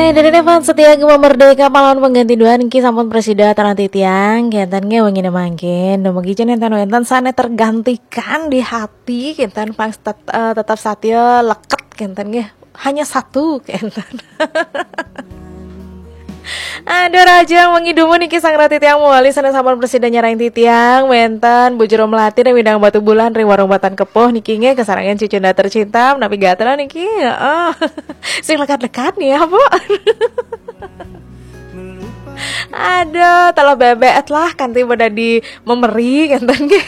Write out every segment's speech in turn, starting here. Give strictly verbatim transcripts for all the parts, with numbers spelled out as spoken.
Dari Nevan setia Gema Merdeka, pahlawan pengganti dua niki sampun presida tarang titiang, kenten nggih wengi mangkin. Dumugi jenengan wenten sane tergantikan di hati, kenten pang tet- eh, tetap satia leket, kenten nggih. Hanya satu, kenten. Aduh, Rajang wengi dumun niki sang rati tiang mewali sane sampun presida nyarang titiang, wenten Bu Jero Melati dan Widang Batu Bulan ring warung Batan Kepuh niki nggih kesarangan cucunda tercinta, napi gatra niki. Heeh. Sing lekat-lekat nih ya, Bu. Aduh, telah bebek lah kanti pada di memeri kenten nggih.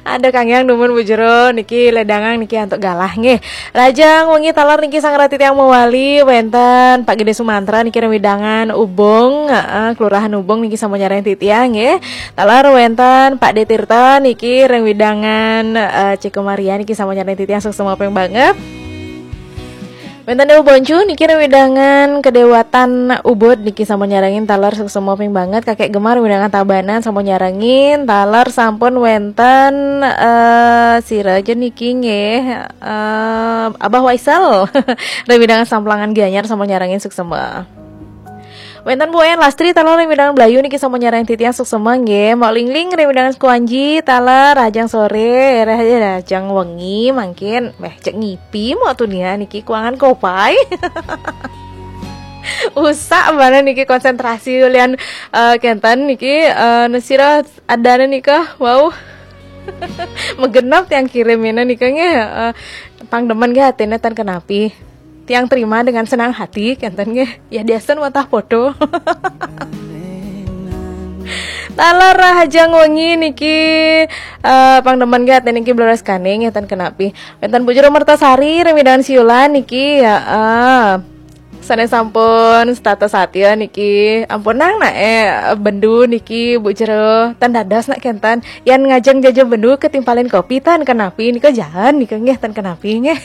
Ada Kang Yang dumun Bu Jero niki ledangan niki antuk galah nggih. Rajang wengi taler niki sang rati tiang mewali wenten Pak Gede Sumantra niki ring wewidangan Ubung, heeh, Kelurahan Ubung niki sampun nyarang titiang nggih. Taler wenten Pak De Tirta niki ring wewidangan eh, Cikomaria niki sampun nyarang titiang suksma ping banget. Wenten Dewa Boncu niki ring wewidangan Kedewatan Ubud niki sampun nyarengin taler suksma ping banget. Kakek Gemar wewidangan Tabanan sampun nyarengin taler sampun wenten eh sira aja niki nggih eh Abah Waisal ring wewidangan Samplangan Gianyar sampun nyarengin suksma. Wenten Bu En Lastri taler ring wewidangan Blayu niki sampun nyarengin titiang suksma nggih. Mok Lingling ring wewidangan Kuanji taler Rajang sore, Rajang wengi mangkin. Meh cek ngipi mok tunia niki kuangan kopai. Usak mana niki konsentrasi ulian eh, kenten niki eh, nesira adana nika. Wow. Megenap tiang kirim ini nika nggih. Eh, pang demen nggih atine tan kenapi. Tiang terima dengan senang hati kenten nggih. Ya diasen watah podo. Taler Rajang wengi niki eh pang demen nggih atine niki bleres kane nggih tan kenapi. Wenten Bu Jero Mertasari ring wewidangan Siulan niki ya eh sane sampun setata satya niki. Ampun nang nak eh bendu niki Bu Jero tan dados nak kenten. Yan ngajeng jaja bendu ketimpalin kopi tan kenapi nika jalan nika nggih tan kenapi nggih.